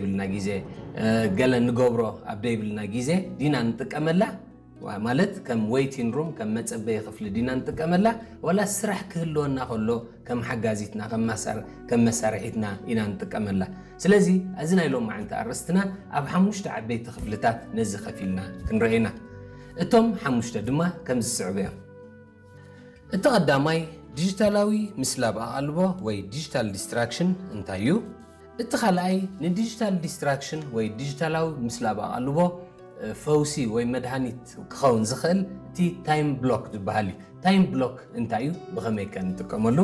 ዘይብልና ግዜ፣ ገለ ንገብሮ ኣብ ዘይብልና ግዜ ዲና ንጥቀመላ? ማለት ከም waiting room፣ ከም መጸበዪ ክፍሊ ዲና ንጥቀመላ? ዋላ ስራሕ ክህልወና ከሎ ከም ሓጋዚትና፣ ከም መሳርሒትና ኢና ንጥቀመላ? ስለዚ እዚ ናይ ሎማዓንቲ ኣርእስትና ኣብ ሓሙሽተ ዓበይቲ ክፍልታት ነዚ ከፊልና ክንርኢ ኢና። እቶም ሓሙሽተ ድማ ከምዚ ዝስዕቡ እዮም። እቲ ቀዳማይ ዲጂታላዊ ምስላብ ኣቓልቦ ወይ digital distraction እንታይ እዩ? እቲ ካልኣይ ንዲጂታል distraction ወይ ዲጂታላዊ ምስላብ ኣቓልቦ ፈውሲ ወይ መድሃኒት ክኸውን ዝኽእል እቲ time block ዝበሃል እዩ። Time block እንታይ እዩ? ብኸመይ ከ ንጥቀመሉ?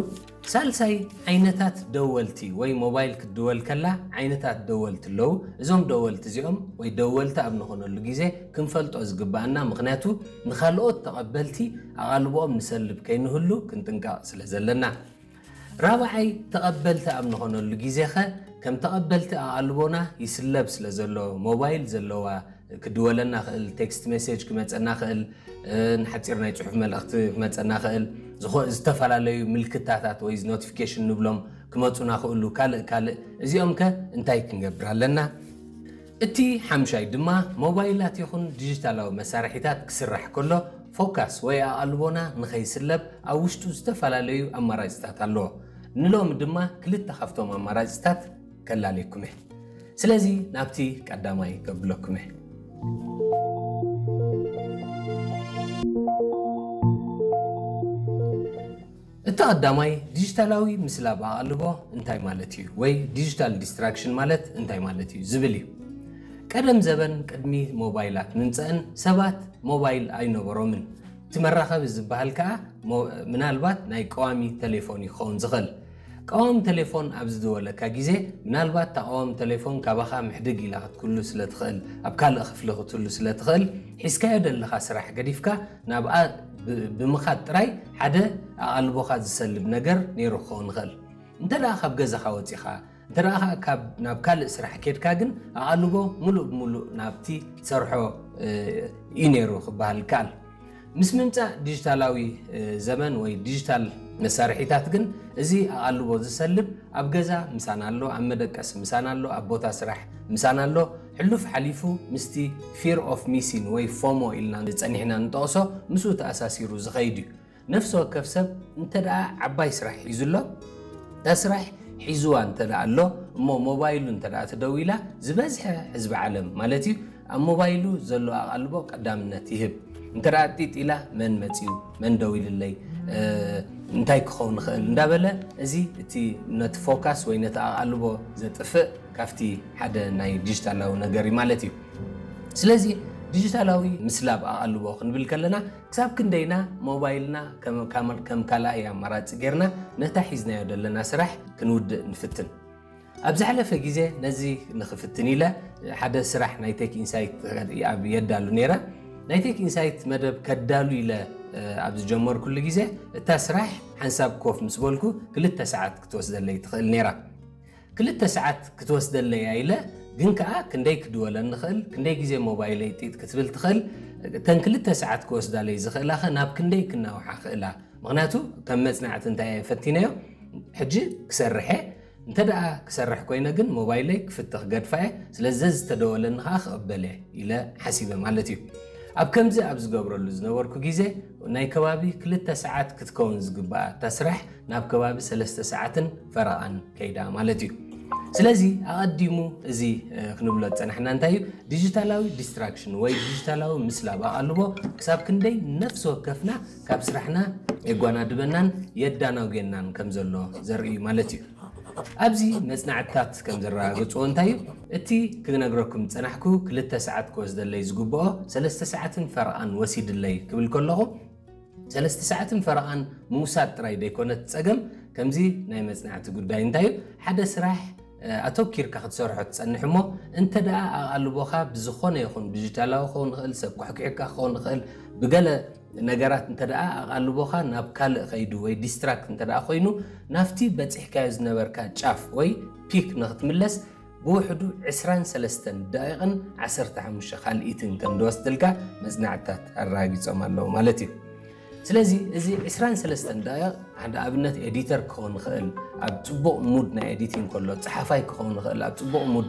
ሳልሳይ ዓይነታት ደወልቲ ወይ ሞባይል ክትድወል ከላ ዓይነታት ደወልቲ ኣለዉ። እዞም ደወልቲ እዚኦም ወይ ደወልቲ ኣብ ንኾነሉ ግዜ ክንፈልጦ ዝግባኣና፣ ምኽንያቱ ንኻልኦት ተቐበልቲ ኣቓልቦኦም ንሰልብ ከይንህሉ ክንጥንቀቕ ስለ ዘለና። ራብዓይ ተቐበልቲ ኣብ ንኾነሉ ግዜ ኸ ከም ተቐበልቲ ኣቓልቦና ይስለብ ስለ ዘሎ፣ ሞባይል ዘለዋ ክድወለና ኽእል፣ text message ክመጸና ኽእል፣ ንሓጺር ናይ ጽሑፍ መልእኽቲ ክመጸና ኽእል፣ ዝተፈላለዩ ምልክታታት ወይ notification ንብሎም ክመጹና ኽእሉ፣ ካልእ ካልእ። እዚኦም ከ እንታይ ክንገብር ኣለና? እቲ ሓምሻይ ድማ ሞባይላት ይኹን ዲጂታላዊ መሳርሒታት ክስራሕ ከሎ ፎካስ ወይ ኣቓልቦና ንኸይስለብ ኣብ ውሽጡ ዝተፈላለዩ ኣማራጺታት ኣለዎ። ንሎሚ ድማ ክልተ ካብቶም ኣማራጺታት ከላልየኩም እየ። ስለዚ ናብቲ ቀዳማይ ከብለኩም እየ። እቲ ቀዳማይ ዲጂታላዊ ምስላብ ኣቓልቦ እንታይ ማለት እዩ ወይ digital distraction ማለት እንታይ ማለት እዩ ዝብል እዩ። ቀደም ዘበን ቅድሚ ሞባይላት ምምፀእን ሰባት ሞባይል ኣይነበሮምን። እቲ መራኸቢ ዝበሃል ከዓ ምናልባት ናይ ቀዋሚ ቴሌፎን እዩ ክኸውን ዝኽእል። ቀዋሚ ቴሌፎን ኣብ ዝደወለካ ግዜ ምናልባት እታ ቀዋሚ ቴሌፎን ካባኻ ምሕድግ ኢላ ክትክሉ ስለ ትኽእል፣ ኣብ ካልእ ክፍሊ ክትህሉ ስለ ትኽእል፣ ሒዝካዮ ዘለኻ ስራሕ ገዲፍካ ናብኣ ብምኻድ ጥራይ ሓደ ኣቓልቦኻ ዝሰልብ ነገር ነይሩ ክኸውን ይኽእል። እንተ ደኣ ካብ ገዛኻ ወጺኻ፣ እንተ ደኣ ካብ ናብ ካልእ ስራሕ ኬድካ ግን ኣቓልቦ ሙሉእ ብሙሉእ ናብቲ ትሰርሖ እዩ ነይሩ ክበሃል ይከኣል። ምስ ምምጻእ ዲጂታላዊ ዘመን ወይ ዲጂታል መሳርሒታት ግን እዚ ኣቓልቦ ዝሰልብ ኣብ ገዛ ምሳና ኣሎ፣ ኣብ መደቀሲ ምሳና ኣሎ፣ ኣብ ቦታ ስራሕ ምሳና ኣሎ። ሕሉፍ ሓሊፉ ምስቲ fear of missing ወይ ፎሞ ኢልና ጸኒሕና ንጠቕሶ ምስኡ ተኣሳሲሩ ዝኸይድ እዩ። ነፍሲ ወከፍ ሰብ እንተ ደኣ ዓባይ ስራሕ ሒዙ ኣሎ፣ እታ ስራሕ ሒዝዋ እንተ ደኣ ኣሎ እሞ ሞባይሉ እንተ ደኣ ተደዊላ ዝበዝሐ ህዝቢ ዓለም ማለት እዩ ኣብ ሞባይሉ ዘሎ ኣቓልቦ ቀዳምነት ይህብ። እንተ ደኣ ጢጥ ኢላ መን መጺኡ፣ መን ደዊልለይ፣ እንታይ ክኸውን ይኽእል እንዳበለ እዚ እቲ ነቲ ፎካስ ወይ ነቲ ኣቓልቦ ዘጥፍእ ካብቲ ሓደ ናይ ዲጂታላዊ ነገር እዩ ማለት እዩ። ስለዚ ዲጂታላዊ ምስላብ ኣቓልቦ ክንብል ከለና ክሳብ ክንደይና ሞባይልና ከም ካልኣይ ኣማራፂ ጌርና ነታ ሒዝናዮ ዘለና ስራሕ ክንውድእ ንፍትን። ኣብ ዝሓለፈ ግዜ ነዚ ንክፍትን ኢለ ሓደ ስራሕ ናይ ቴክ ኢንሳይት ኣብ የዳሉ ነይረ። ናይ ቴክ ኢንሳይት መደብ ከዳሉ ኢለ ኣብ ዝጀመርኩሉ ግዜ እታ ስራሕ ሓንሳብ ኮፍ ምስ በልኩ ክልተ ሰዓት ክትወስደለይ ትኽእል ነይራ። ክልተ ሰዓት ክትወስደለይ ኢለ ግን ከኣ ክንደይ ክድወለን ንኽእል፣ ክንደይ ግዜ ሞባይለይ ጢጥ ክትብል ትኽእል፣ እተን ክልተ ሰዓት ክወስዳለይ ዝኽእላ ኸ ናብ ክንደይ ክናውሓ ክእላ? ምኽንያቱ ከም መጽናዕቲ እንታይ ፈቲነዮ፣ ሕጂ ክሰርሕ እየ፣ እንተ ደኣ ክሰርሕ ኮይነ ግን ሞባይለይ ክፍትኽ ገድፋ እየ፣ ስለዚ ዘዝተደወለኒ ኸኣ ክቕበል እየ ኢለ ሓሲበ ማለት እዩ። ኣብ ከምዚ ኣብ ዝገብረሉ ዝነበርኩ ግዜ ናይ ከባቢ ክልተ ሰዓት ክትከውን ዝግብኣ እታ ስራሕ ናብ ከባቢ ሰለስተ ሰዓትን ፈረቓን ከይዳ ማለት እዩ። ስለዚ ኣቐዲሙ እዚ ክንብሎ ዝጸናሕና እንታይ እዩ? ዲጂታላዊ ዲስትራክሽን ወይ ዲጂታላዊ ምስላብ ኣቓልቦ ክሳብ ክንደይ ነፍሲ ወከፍና ካብ ስራሕና የጓናድበናን የዳናጉየናን ከም ዘሎ ዘርኢ እዩ ማለት እዩ። ኣብዚ መጽናዕትታት ከም ዘረጋግጽዎ እንታይ እዩ? እቲ ክነግረኩም ዝጸናሕኩ ክልተ ሰዓት ክወስደለይ ዝግብኦ ሰለስተ ሰዓትን ፈረቓን ወሲድለይ ክብል ከለኹ ሰለስተ ሰዓትን ፈረቓን ምውሳድ ጥራይ ዘይኮነት ጸገም፣ ከምዚ ናይ መጽናዕቲ ጉዳይ እንታይ እዩ? ሓደ ስራሕ ኣተኪርካ ክትሰርሖ ትጸንሕ እሞ እንተ ደኣ ኣቓልቦኻ ብዝኾነ ይኹን ዲጂታላዊ ክኸውን ይኽእል፣ ሰብ ኩሕኪሕካ ክኸውን ይኽእል፣ ብገለ ነገራት እንተ ደኣ ኣቓልቦኻ ናብ ካልእ ከይዱ ወይ ዲስትራክት እንተ ደኣ ኮይኑ ናብቲ በጺሕካዮ ዝነበርካ ጫፍ ወይ ፒክ ንኽትምለስ ብውሕዱ ዕስራን ሰለስተን ደቂቕን ዓሰርተ ሓሙሽተ ካልኢትን ከም ዝወስደልካ መጽናዕትታት ኣረጋጊጾም ኣለዉ ማለት እዩ። ስለዚ እዚ ዕስራን ሰለስተን ደቂቕ ሓደ ኣብነት ኤዲተር ክኸውን ይኽእል፣ ኣብ ጽቡቕ ሙድ ናይ ኤዲቲንግ ከሎ ጸሓፋይ ክኸውን ይኽእል፣ ኣብ ጽቡቕ ሙድ